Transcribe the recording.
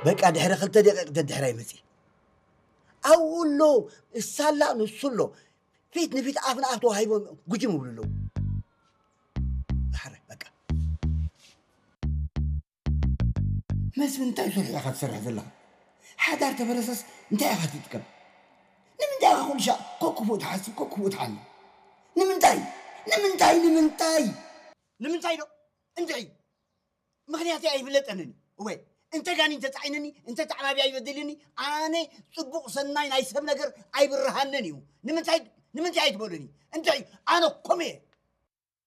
በቃ ድሕሪ ክልተ ደቂቕ ደድሕራይ መጺ። ኣብኡ ኣሎ፣ እሳ ኣላ፣ ንሱ ኣሎ። ፊት ንፊት ኣፍ ንኣፍ ተዋሂቦም ጉጅም ይብሉ ኣለዉ። ድሓረ በቃ። መስፍን፣ እንታይ ስርሒ ኢኻ ትሰርሕ ዘለኻ? ሓዳር ተበረሰስ እንታይ ኢኻ ትጥቀም? ንምንታይ ኢኻ ኩሉ ሻዕ ኮክፉእ ትሓስብ፣ ኮክፉእ ትሓልም? ንምንታይ? ንምንታይ? ንምንታይ? ንምንታይ ዶ? እንድዒ ምኽንያተይ ኣይፍለጠንን። እወ፣ እንተ ጋኒን ተጻዒነኒ፣ እንተ ተዓባቢ ኣይበድልኒ፣ ኣነ ጽቡቕ ሰናይ ናይ ሰብ ነገር ኣይብርሃንን እዩ። ንምንታይ? ንምንታይ ኣይትበሉኒ? እንድዒ ኣነ ከምኡ እየ።